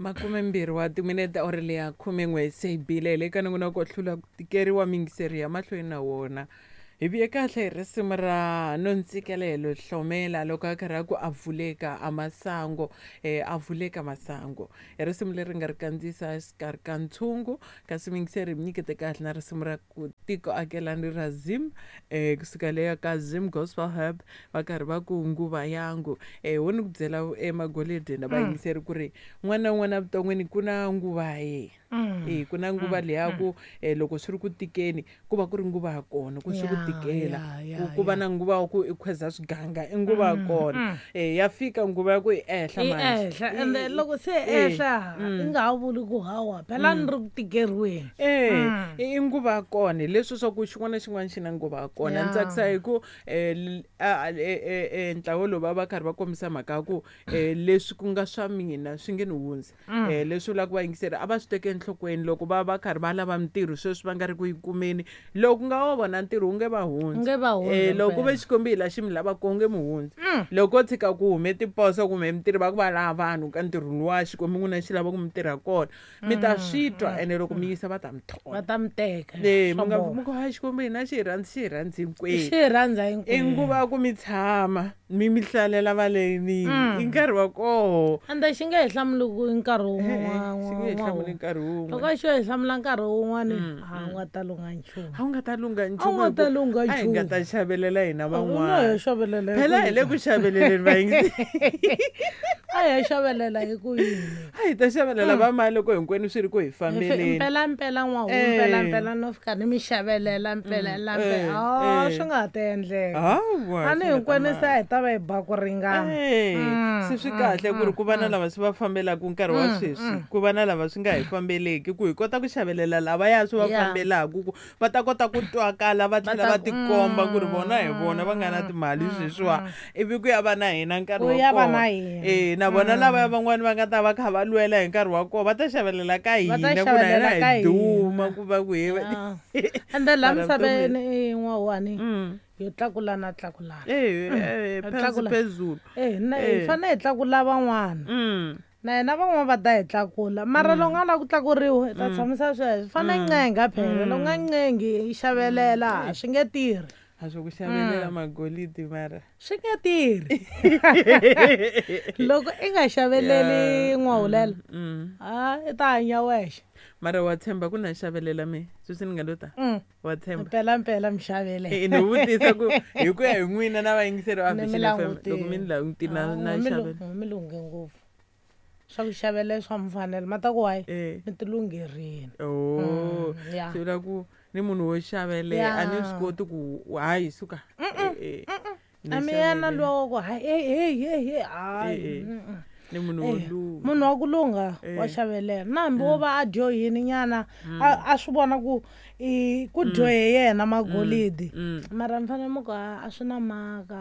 Makumembirhi wa timinete awara leya 11 se yi bile hi le ka nongonoko wo hlula ku tikeriwa miyingiseri ya mahlweni na wona. Hi vuye kahle hi risimu ra Nontsikelelo Hlomela loko a karhi a ku a vuleka a masango a vuleka masango. I risimu leri nga ri kandziyisa exikarhi ka ntshungu kasi miyingiseri hi mi nyikete kahle na risimu ra ku tiko akelani ra Zim kusuka leya ka Zim Gospel Hub va karhi va ku nguva yangu. Ho ni ku byela emagolidini na vayingiseri ku ri un'wana na un'wana evuton'wini ku na nguva ya yena. E ku na nguva leya ku loko swi ri ku tikeni ku va ku ri nguva ya kona ku swi ku tikela. Ku va na nguva wa ku i khweza swiganga i nguva ya kona. Ya fika nguva ya ku i ehla manje. Ende loko se ehla i nga ha vuli ku hawa phela ni ri ku tikeriweni. I nguva ya kona hi leswi swa ku xin'wana na xin'wana xi na nguva ya kona. Ni tsakisa hi ku ntlawa lowu va va karhi va kombisa mhaka ya ku leswi ku nga swa mina swi nge ni hundzi. Leswi vulaka vayingiseri a va swi teke enhlokweni loko va va karhi va lava mintirho sweswi va nga ri ku yi kumeni. Loko nga wa vona ntirho wu nge va hundzi. Nge va hundzi Loko ku ve Xikwembu hi la xi mi lavaka wu nge mi hundzi. Loko ko tshika ku hume tiposo kumbe mintirho va ku va lava vanhu ka ntirho luwa Xikwembu n'wina xi lava ku mi tirha kona mi ta swi twa ene loko mi yisa va ta mi thola. Va ta mi teka. Mi nga mi ku hayi Xikwembu hina xi hi rhandzi xi hi rhandzi hinkwenu. Xi hi rhandza hinkwenu. I nguva ya ku mi tshama mi mi hlalela valenini i nkarhi wa koho. Ende xi nge hi hlamuli ku nkarhi wun'we Xi nge hi hlamuli nkarhi wun'we. Loko xo hi hlamula nkarhi wun'wani a wu nga ta lungha nchumu. A wu nga ta lungha nchumu. A wu nga ta lungha A hi nga ta xavelela hina van'wana. A xavelela. Phela hi le ku xaveleleni vayingiseri. A hi xavelela hi ku yini? A hi ta xavelela va mali loko hinkwenu swi ri ku hi fambeleni. Mpela mpela n'wahu mpela mpela no fika ni mi xavelela mpela mpela. Swi nga ha ta endleka. Hawa. A ni hinkwenu se a hi ta va hi ba ku ringana. Se swi kahle ku ri ku va na lava swi va fambelaka nkarhi wa sweswi, ku va na lava swi nga hi fambeleki ku hi kota ku xavelela lavaya swi va fambelaka ku va ta kota ku twakala va tlhela va tikomba ku ri vona hi vona va nga na timali sweswiwa ivi ku ya va na hina nkarhi wa kona. Na vona lavaya van'wani va nga ta va kha va lwela hi nkarhi wa kona va ta xavelela ka hina ku na hina hi duma ku va ku hi Ende laha misaveni n'wawani yo tlakulana tlakulana. Phezulu. Hi fanele hi tlakula van'wana. Na hina van'wana va ta hi tlakula mara loko nga lava ku tlakuriwa hi ta tshamisa sweswo. Fanele ncenga phela loko nga ncengi yi xavelela swi nge tirhi. A swi ku xavelela magolidi mara swi nge tirhi. Loko i nga xaveleli n'wahulela i ta hanya wexe. Mara wa tshemba ku na xavelela me sweswi ni nga lo ta wa tshemba mpela mpela mi xavelela. Ni vutisa ku hi ku ya hi n'wina na vayingiseri va Vision FM loko mi ni languti na xavelela. Mi lunghe ngopfu. Swa ku xavelela swa mfanelo ma ta ku hayi mi ti lungherini. Swi vula ku ni munhu wo xavelela a ni swi koti ku hayi suka. A mi yena luwa wa ku hayi hey hayi. Ni munhu wo lungha. Munhu wa ku lungha wa xavelela na hambi wo va a dyohini nyana a swi vona ku ku dyohe yena magolidi mara mi fanele mi ku a swi na mhaka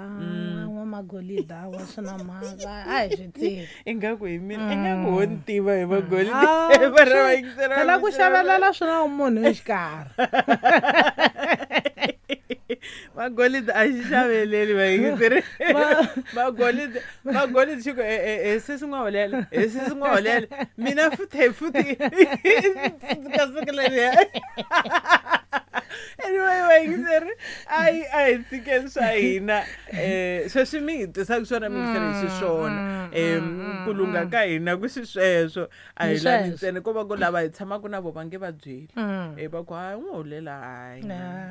n'wa magolidi awa swi na mhaka a hi swi tivi. Ingaku hi mina ingaku ho ni tiva hi magolidi. Phela ku xavelela swi na munhu exikarhi. Magolidi a xi xaveleli vayingiseri. Magolidi magolidi xi ku sesi n'wahulela sesi n'wahulela mina futhi futhi ka siku leriya. Anyway vayingiseri a hi tshikeni swa hina sweswi mi hi tisaka swona miyingiseri hi xiswona. Ku lungha ka hina ku xisweswo a hi lavi ntsena ko va ku lava hi tshamaka na vo va nge va byeli. Va ku hayi n'wahulela hayi.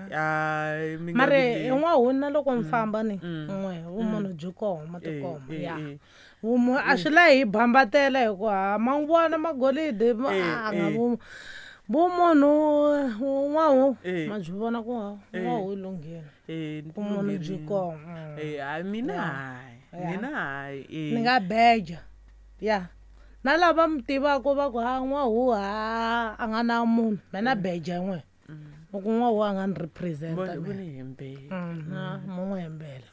Hayi mi nga Mara n'wahuna loko mi famba ni n'we vumunhu byi kona tikoma ya. Vumunhu a swi lavi hi bambatela hi ku ha ma n'wi vona magolidi a nga vumunhu n'wahu ma byi vona ku n'wahu i lunghile. Vumunhu byi kona. Hayi mina hayi mina hayi. Ni nga beja ya. Na lava mi tivaka va ku ha n'wahu ha a nga na munhu mina beja n'we. Loko n'wahu a nga ni represent-a Voni hembela. Mo n'wi hembela.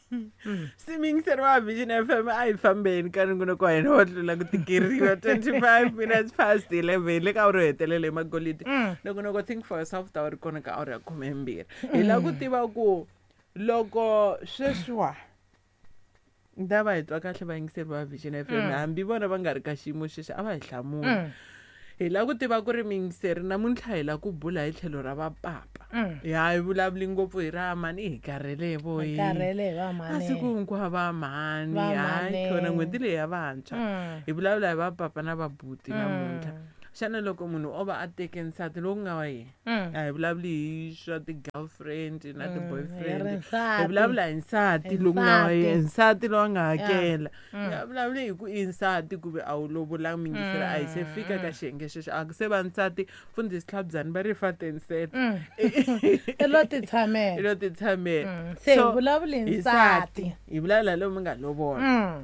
Se miyingiseri wa Vision FM a hi fambeni ka nongonoko wa hina wa tlula ku tikeriwa 25 minutes past 11 le ka awara yo hetelela hi magolidi. Nongonoko Think for Yourself ta wu ri kona ka awara ya 12. Hi lava ku tiva ku loko sweswiwa Ni ta va hi twa kahle vayingiseri va Vision FM, hambi vona va nga ri ka xiyimo xexo, a va hi hlamuli. Hi lava ku tiva ku ri miyingiseri namuntlha hi lava ku bula hi tlhelo ra vapapa. Ya hi vulavuli ngopfu hi ra mhani, hi karhele vo Hi karhele hi va mhani. Masiku hinkwawo va mhani. Va Hayi mhani. khona n'hweti leyi ya vantshwa. Hi vulavula hi vapapa na vabuti namuntlha. Xana loko munhu o va a teke nsati lowu ku nga wa yena, a hi vulavuli hi swa ti-girlfriend na ti-boyfriend, Hi ri hi nsati. vulavula hi nsati Hi lowu ku nga wa nsati. yena, nsati lowu a nga hakela. Hi nga vulavuli hi ku i nsati ku ve a wu lovolanga, miyingiseri, a hi se fika ka xiyenge xexo, a ku se va nsati. Mfundhisi Tlhabyani va ri fa tenset. I lo titshamela. I lo titshamela. Se hi So, vulavuli hi hi nsati. Hi vulavula lomu nga lovola.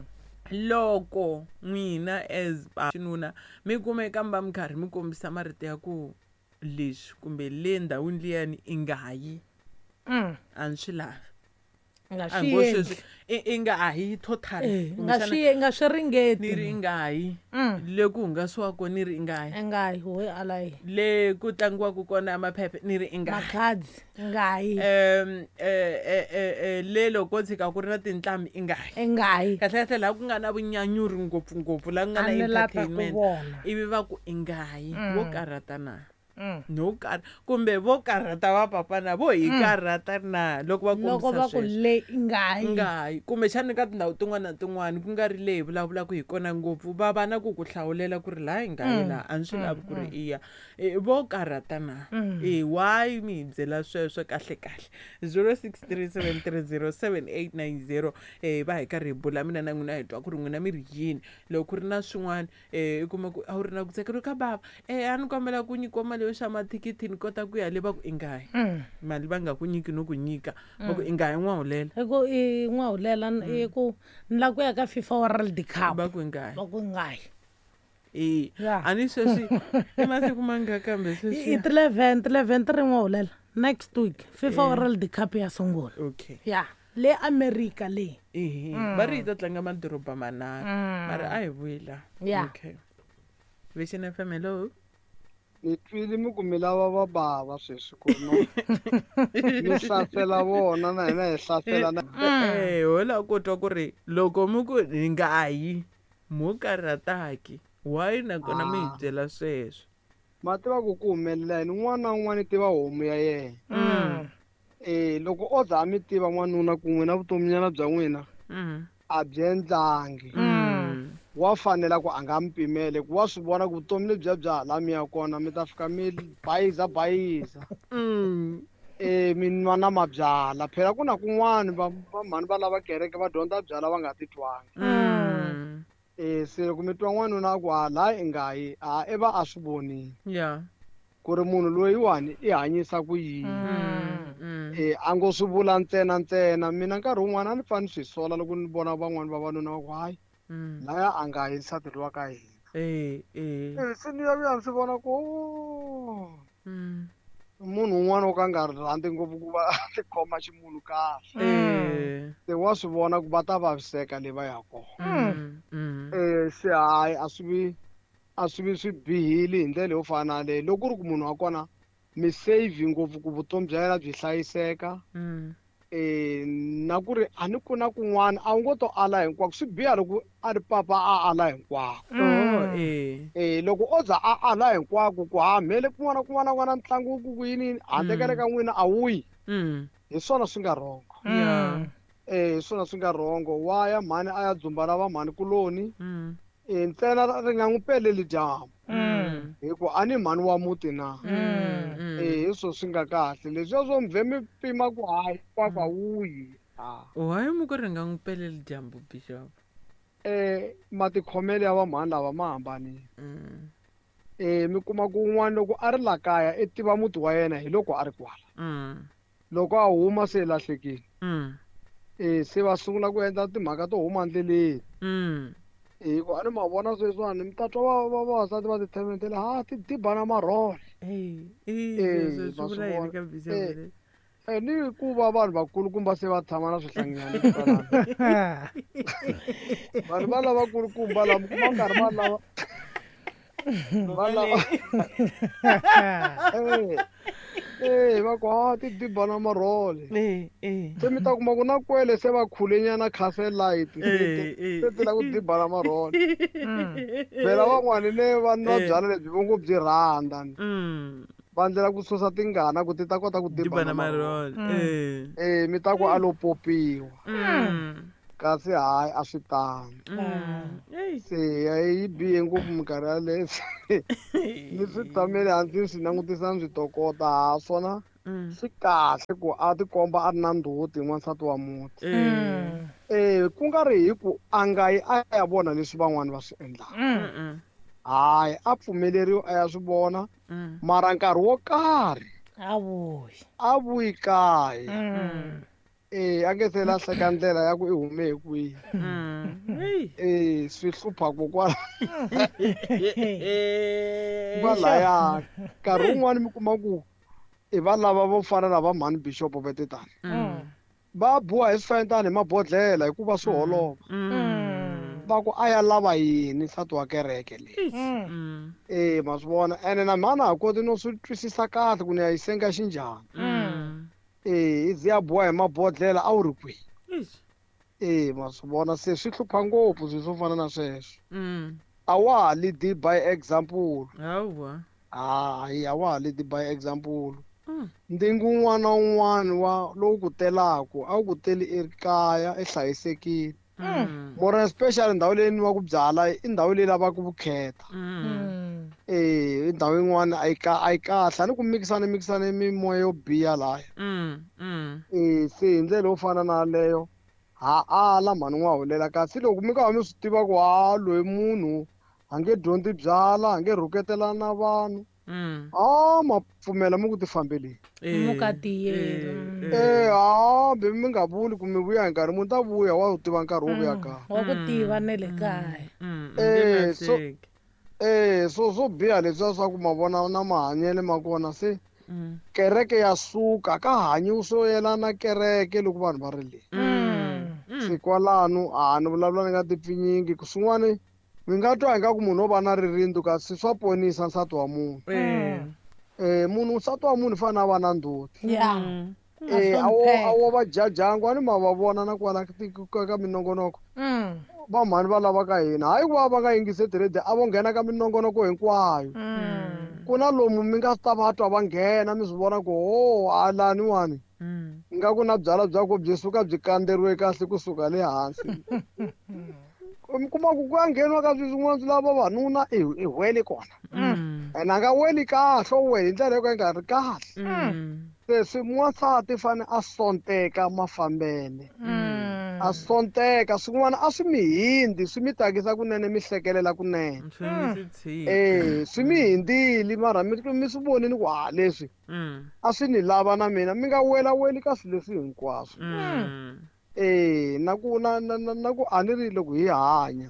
Loko n'wina as xinuna mi kumeka mi va mi karhi mi kombisa marito ya ku leswi kumbe le ndhawini liyani i nga yi, a ni swi lavi. Nga A swi ngo endli. sweswi i nga a hi total. Eh, nga Kumbexana swi nga swi ringeti. Ni ri i nga yi. Le ku hungasiwaka ni ri i nga yi. I nga yi, hoyi ala yi. Le ku tlangiwaka kona maphephe ni ri i nga yi. Makhadzi i nga yi. Le loko ko tshika ku ri na tinqambi i nga yi. I nga yi. Kahle kahle laha ku nga na vunyanyuri ngopfungopfu, laha ku nga na A ni la ta ku entertainment, vona. ivi va ku i nga yi, vo karhata na? No karhata kumbe vo karhata va papa na vo hi karhata na loko va Loko kombisa va ku sweswo? le i nga yi. Nga yi. Kumbexana ka tindhawu tin'wana na tin'wana, ku nga ri leyi hi vulavulaka hi kona ngopfu, va va na ku ku hlawulela ku ri laha hi nga yi laha, a ni swi lavi ku ri i ya. Vo karhata na? Why mi hi byela sweswo kahle kahle? 0637307890. Va hi karhi hi bula mina na n'wina, hi twa ku ri n'wina mi ri yini. Loko ku ri na swin'wana, i kuma ku a wu ri na ku tsakeriwa ka bava, a ni kombela ku nyikiwa mali yo xava mathikithi ni kota ku ya le, va ku i nga yi. Mali va nga ku nyiki no ku nyika, va ku i nga yi n'wahulela. I ku i n'wahulela, i ku ni lava ku ya ka FIFA World Cup. Va ku i nga yi. Va ku i nga yi. A ni sweswi i masiku manga kambe sweswi. I 11, 11 ti ri n'wahulela. Next week FIFA World Cup ya sungula. Okay. Ya, le America le. Ehe, va ri yi ta tlanga madoroba manharhu. Mara a hi vuyi la. Okay. Vision FM, hello. Ni twile mi ku mi lava va bava sweswi ku no mi hlasela vona na hina hi hlasela na. Ho lava ku twa ku ri loko mi ku hi nga yi, mo karhataki, why nakona mi hi byela sweswo? Ma tiva ku ku humelela yini, un'wana na un'wana i tiva homu ya yena. Loko o za a mi tiva n'wanuna ku n'wina vutominyana bya n'wina a byi endlangi, wa fanela ku a nga mi pimele, ku wa swi vona ku vutomi lebyiya bya hala mi ya kona mi ta fika mi bayiza bayiza. Mi nwa na mabyala. Phela ku na kun'wani va mhani va lava kereke va dyondza byala va nga titwangi. Se loko mi twa n'wanuna a ku ha laha i nga yi, a i va a swi vonile. Ku ri munhu loyiwani i hanyisa ku yini. A ngo swi vula ntsena ntsena. Mina nkarhi wun'wana a ni fane ni swi sola loko ni vona van'wani vavanuna va ku hayi, laya a nga yi nsati lowa ka hina. Se ni ya vuya ni swi vona ku, oh, munhu un'wana wo ka nga rhandzi ngopfu ku va a ti khoma ximunhu kahle. Se wa swi vona ku va ta vaviseka le va ya kona. Se hayi, a swi vi swi bihile hi ndlela yo fana na leyi. Loko ku ri ku munhu wa kona mi save ngopfu ku vutomi bya yena byi hlayiseka. Na ku ri a ni ku na kun'wana a wu ngo to ala hinkwako, swi biha loko a ri papa a ala hinkwako. Loko o za a ala hinkwako ku ha mhele kun'wana kun'wana kun'wana ntlangu ku ku yini yini, handle ka le ka n'wina a wu yi. Hi swona swi nga wrong. Hi swona swi nga wrong. Wa ya mhani a ya dzumba na va mhani kuloni. Ntsena ri nga n'wi peleli dyambu. Hi ku a ni mhani wa muti na. Hi swo swi nga kahle. Leswiya swo mvhe mi pima ku hayi, hinkwako a wu yi. Why mi ku ri nga n'wi peleli dyambu, Bishop? Matikhomelo ya va mhani lava ma hambanile. Mi kuma ku un'wana loko a ri la kaya i tiva muti wa yena hi loko a ri kwala. Loko a huma se lahlekile. Se va sungula ku endla timhaka to huma endleleni. Hi ku a ni ma vona sweswiwani mi ta twa vavasati va tithementela, ha ti diba na marhole. Sweswo Va swi swi vula yini vona. ka Bishop leswi? Ni ku va vanhu vakulukumba se va tshama na swihlanginyana kwalano. Vanhu va lavakulukumba lava mi kuma nkarhi va lava va lava. Va ku ha ti diba na marhole. Se mi ta kuma ku na kwele se va khulenyana castle light se ti la ku diba na marhole. Phela van'wani ne va nwa byala lebyi vo ngo byi rhandza. Va ndlela ku susa tingana ku ti ta kota ku diba na marhole. Mi ta ku a lo popiwa. Kasi hayi a swi tano. Se yi bihe ngopfu minkarhi yaleyo. Ni swi tshamele hansi swi langutisa ni swi tokota ha swona swi kahle ku a tikomba a ri na ndzhuti n'wansati wa muti. Ku nga ri hi ku a nga yi a ya vona leswi van'wani va swi endlaka. Hayi a pfumeleriwi a ya swi vona mara nkarhi wo karhi a vuyi kaya. A nge se lahleka ndlela ya ku i hume hi kwihi. Swi hlupha kokwala. Kwalaya nkarhi wun'wani mi kuma ku i va lava vo fana na va mhani Bishop va tetani. Va buwa hi swifayintani hi mabodhlela hikuva swi holova. Va ku a ya lava yini nsati wa kereke leyi. Ma swi vona ene na mhana ha koti no swi twisisa kahle ku ni ya yi senga xinjhani. I ze ya buwa hi mabodhlela a wu ri kwihi. Ma swi vona se swi hlupha ngopfu swilo swo fana na sweswo. A wa ha lead by example. Hayi a wa ha lead by example. Ndzingo wun'wana na wun'wana wa lowu ku telaku a wu ku teli ekaya i hlayisekile. More especially ndhawu leyi nwiwaka byala i ndhawu leyi lavaka vukheta. I ndhawu yin'wana a yi kahle a ni ku mikisana mimoya yo biha laya. Se hi ndlela yo fana na yaleyo ha ala mhani n'wa hulela kasi loko mi ka mi swi tiva ku ha loyi munhu a nge dyondzi byala a nge rhuketelana na vanhu. Ma pfumela mi ku ti fambeleni. Mukatiyeli. Hambi mi nga vuli ku mi vuya hi nkarhi munhu ta vuya wa wu tiva nkarhi wo vuya kaya. Wa ku tiva ne le kaya. So swo biha leswiya swa ku ma vona na mahanyelo ma kona se kereke ya suka ka hanyiwi swo yelana kereke loko vanhu va ri le. Se kwalano a ni vulavula ni nga ti pfinyingi ku swin'wani mi nga twa ingaku munhu o va na ririndzu kasi swa ponisa nsati wa munhu. Munhu nsati wa munhu fanele a va na ndzhuti. A wo va jajangu a ni ma va vona na kwala ka minongonoko. Va mhani va lava ka hina hayi ku va va nga yingisi tirhedi a vo nghena ka minongonoko hinkwayo. Ku na lomu mi nga ta va twa va nghena mi swi vona ku ho halaniwani. Nga ku na byala bya ku byi suka byi kandzeriwe kahle kusuka le hansi. Mi kuma ku ku ya ngheniwa ka swilo swin'wana swi lava vavanuna i wele kona. Ene a nga weli kahle o wele hi ndlela yo ka yi nga ri kahle. Se swi n'wansati fane a sonteka mafambele. A sonteka swin'wana a swi mi hindzi swi mi tsakisa kunene mi hlekelela kunene. Swi mi hindzile mara mi swi vonile ku ha leswi a swi ni lava na mina mi nga welaweli ka swilo leswi hinkwaswo. Na ku na na na ku a ni ri loko hi hanya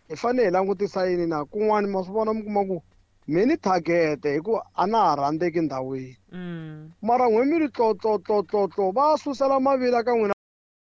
hi fanele hi langutisa yini na kun'wani ma swi vona mi kuma ku mi ni target hi ku a na ha rhandzeki ndhawini. Mara n'we mi ri tlotlotlotlotlo va susela mavila ka n'wina.